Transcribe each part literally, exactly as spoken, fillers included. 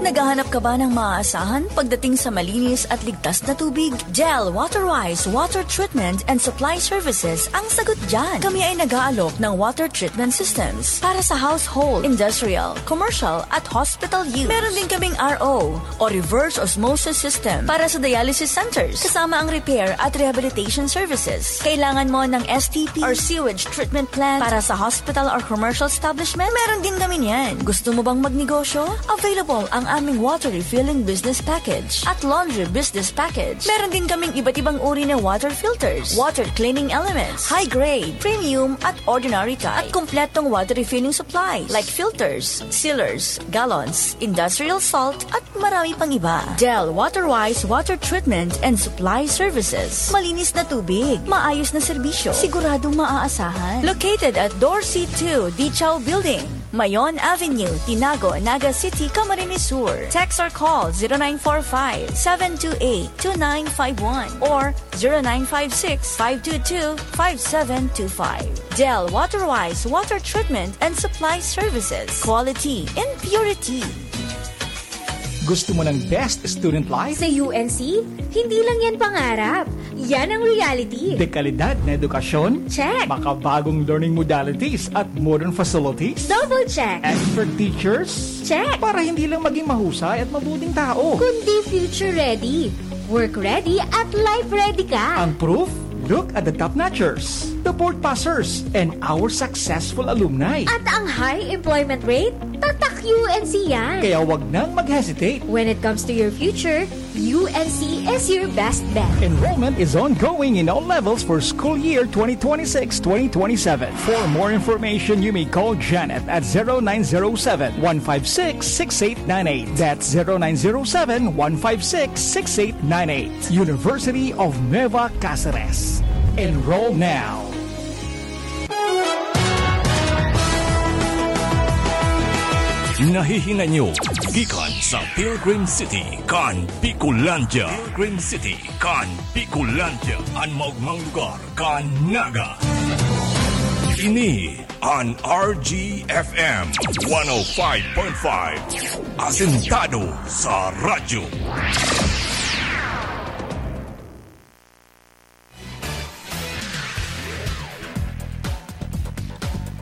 Naghahanap ka ba ng maaasahan pagdating sa malinis at ligtas na tubig? Del Waterwise Water Treatment and Supply Services ang sagot dyan. Kami ay nag-aalok ng water treatment systems para sa household, industrial, commercial at hospital use. Meron din kaming R O o reverse osmosis system para sa dialysis centers, kasama ang repair at rehabilitation services. Kailangan mo ng S T P or sewage treatment plant para sa hospital or commercial establishment? Meron din kami niyan. Gusto mo bang magnegosyo? Available ang aming water refilling business package at laundry business package. Meron din kaming iba't ibang uri na water filters, water cleaning elements, high grade, premium at ordinary type, at kompletong water refilling supplies like filters, sealers, gallons, industrial salt, at marami pang iba. Del Waterwise Water Treatment and Supply Services. Malinis na tubig, maayos na serbisyo, siguradong maaasahan. Located at Dorsey two Dichaw Building, Mayon Avenue, Tinago, Naga City, Camarines Sur. Text or call zero nine four five, seven two eight, two nine five one or zero nine five six, five two two, five seven two five. Del Waterwise Water Treatment and Supply Services. Quality in purity. Gusto mo ng best student life? Sa U N C, hindi lang yan pangarap. Yan ang reality. Dekalidad na edukasyon? Check. Makabagong learning modalities at modern facilities? Double check. Expert teachers? Check. Para hindi lang maging mahusay at mabuting tao. Kundi future ready, work ready at life ready ka. Ang proof? Look at the top notchers, the board passers, and our successful alumni. At ang high employment rate? Tatak U N C yan. Kaya wag nang mag-hesitate. When it comes to your future, U N C is your best bet. Enrollment is ongoing in all levels for school year twenty twenty-six twenty twenty-seven. For more information, you may call Janet at zero nine zero seven, one five six, six eight nine eight. That's zero nine zero seven, one five six, six eight nine eight. University of Nueva Caceres. Enroll now. Nahihinay nyo gikan sa Pilgrim City kan Bicolandia. Pilgrim City kan Bicolandia, an maogmang lugar kan Naga. Ini an R G F M one oh five point five. Asentado sa radyo.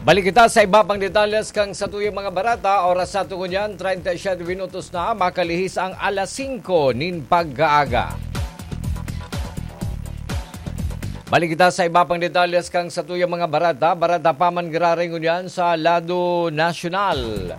Balik kita sa iba pang detalles kan satuyang mga bareta. Oras sa aton ngunyan, treinta y siete minutos na, makalihis ang alas singko nin pag-aaga. Balik kita sa iba pang detalles kan satuyang mga bareta. Bareta pa man giraray ngunyan sa lado nasyonal.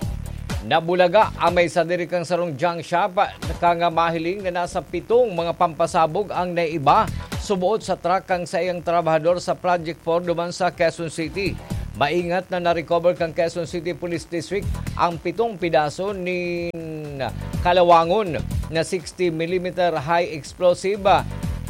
Nabulaga ang may sadiri kan sarong junk shop, kan mahiling na nasa pitong mga pampasabog ang naiiba suboot sa truck kan saiyang trabahador sa Project four duman sa Quezon City. Maingat na na-recover kan Quezon City Police District ang pitong pidaso nin kalawangon na sixty millimeter high explosive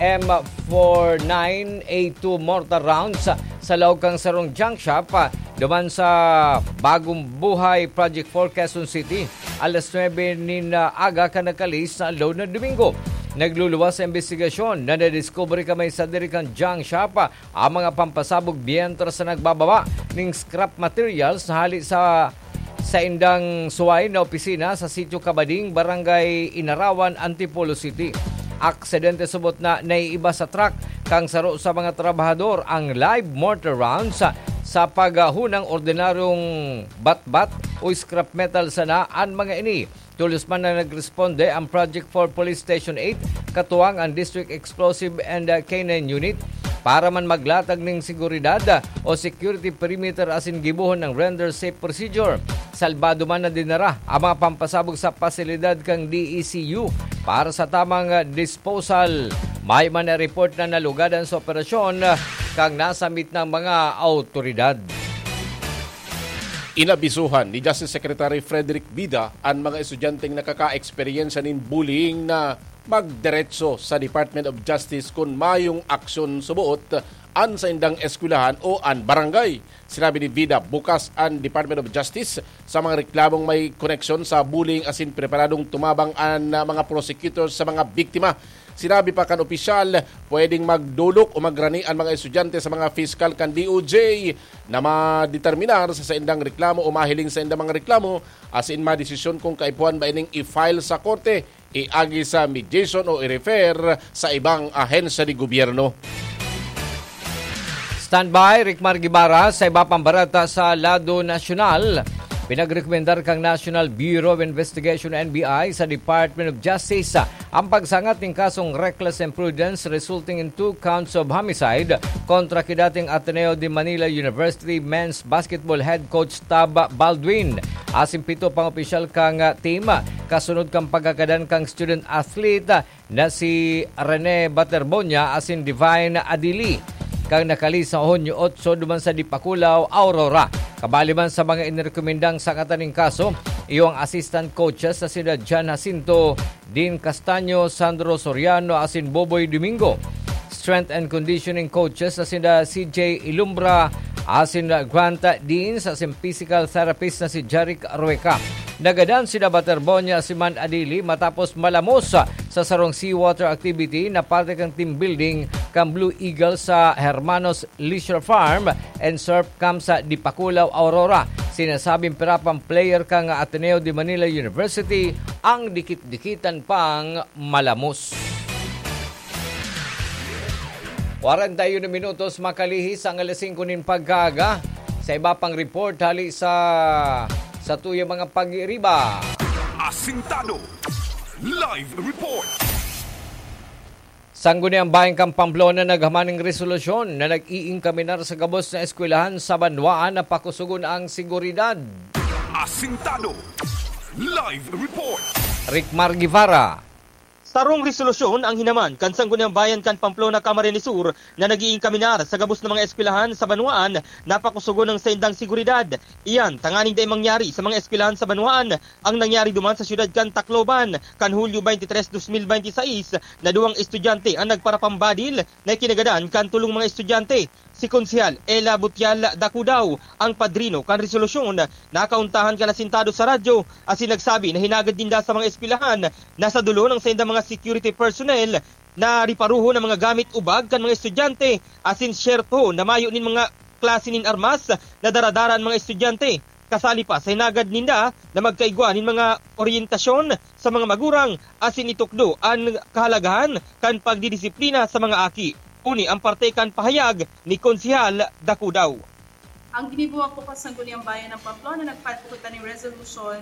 M four nine A two mortar rounds sa laog kan sarong junk shop duman sa Bagong Buhay Project four, Quezon City, alas nuebe nin aga kan nakalihis na aldaw na Domingo. Nagluluwas sa imbestigasyon na nadiskubre kan may sadiri kan junk shop ang mga pampasabog mientras na nagbababa nin scrap materials na hali sa saindang suway na opisina sa Sitio Kabading, Barangay Inarawan, Antipolo City. Aksidente subot na naiiba sa truck kan saro sa mga trabahador ang live mortar rounds sa, sa paghahunang ordinaryong batbat o scrap metal sana an mga ini. Tolos man na nagresponde ang Project four Police Station eight, katuwang ang District Explosive and, uh, K nine Unit, para man maglatag nin seguridad, uh, o security perimeter asin gibohon ang render safe procedure. Salbado man na dinara ang mga pampasabog sa pasilidad kan D E C U para sa tamang, uh, disposal. May man na report na nalugadan sa operasyon, uh, kan nasambit na mga awtoridad. Inabisuhan ni Justice Secretary Frederick Vida an mga estudyanteng nakakaeksperyensya nin bullying na magdiretso sa Department of Justice kun mayong aksyon suboot an saindang eskwelahan o an barangay. Sinabi ni Vida, bukas an Department of Justice sa mga reklamong may koneksyon sa bullying asin preparadong tumabang an, ah, mga prosecutors sa mga biktima. Sinabi pa kan opisyal, pwedeng magdolok o magrani an mga estudyante sa mga piskal kan D O J na madeterminar sa saindang reklamo o mahiling sa indang mga reklamo, asin madesisyon kung kaipuhan ba ining i-file sa korte, iagi sa mediation o i-refer sa ibang ahensya de gobyerno. Standby, Rickmar Guevara, sa iba pang bareta sa lado nasyonal. Pinagrekomendar kan National Bureau of Investigation, N B I, sa Department of Justice ang pagsangat nin kasong reckless imprudence resulting in two counts of homicide kontra ki dating Ateneo de Manila University men's basketball head coach Tab Baldwin asin pito pang opisyal kan team, kasunod kan pagkagadan kan student athlete na si Rene Baterbonia asin Divine Adili, kan nakalihis sa Hunyo otso duman sa Dipakulaw, Aurora. Kabali man sa mga inirekomendang sangatan nin kaso, iyo ang assistant coaches na sina John Jacinto, Dean Castaño, Sandro Soriano asin Boboy Domingo. Strength and conditioning coaches na sina C J Ilumbra asin Grant Deans asin physical therapist na si Jeric Rueca. Nagadan sina Baterbonia asin Man Adili matapos malamos sa sarong seawater activity na parte kan team building kan Blue Eagle sa Hermanos Leisure Farm and Surf Camp sa Dipakulaw, Aurora. Sinasabing pira pang player kan Ateneo de Manila University ang dikit-dikitan pang malamos. Kwarenta y uno minutos makalihis ang alas singko nin pagkaaga. Sa iba pang report hali sa satuyang mga pagiriba. Asintado. Live report. Sangguniang Bayan kan Pamplona naghaman nin resolusyon na nag-iinkaminar sa gabos na eskwelahan sa banwaan na pakusugon ang seguridad. Asintado. Live report. Rickmar Guevara. Sarong resolusyon ang hinaman kan Sangguniang Bayan kan Pamplona, Camarines Sur, na nag-iinkaminar sa gabos na mga eskwelahan sa banwaan na pakusugon ang saindang seguridad. Iyan tanganing dai mangyari sa mga eskwelahan sa banwaan ang nangyari duman sa siyudad kan Tacloban kan Hulyo twenty-three, twenty twenty-six, na duwang estudyante ang nagparapambadil na ikinagadan kan tolong mga estudyante. Si Konsehal Ella Butial Dacudaw, ang padrino kan resolusyon, nakauntahan kan Asintado sa radyo asin nagsabi na hinagad ninda sa mga eskwelahan na sadulon ang saindang mga security personnel na riparuhon ang mga gamit o bag kan mga estudyante asin siyerto na mayo nin mga klase nin armas na daradara an mga estudyante. Kasali pa sa hinagad ninda na magkaigwa nin mga oryentasyon sa mga magurang asin itukdo an kahalagahan kan pagdidisiplina sa mga aki. Uni ang parte kan pahayag ni Konsehal Dacudaw. Ang ginibuhat ko kan Sangguniang Bayan ng Pamplona, nag-file po kita ng resolution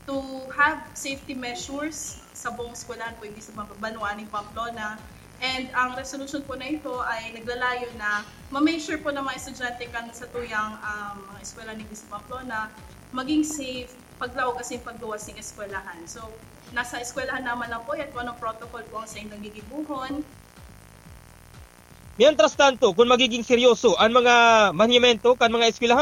to have safety measures sa buong eskwelahan po, hindi sa mga banwaan ng Pamplona. And ang resolution po na ito ay naglalayo na ma-make sure po ng mga estudyante kan satuyang, um, mga eskwela ng Pamplona maging safe, paglaog asin pagluwas ng eskwelahan. So, nasa eskwelahan naman lang po yan kung anong protocol po ang saindang gigibuhon. Mientras tanto, kung magiging seryoso ang mga manhimento kan mga eskwelahan,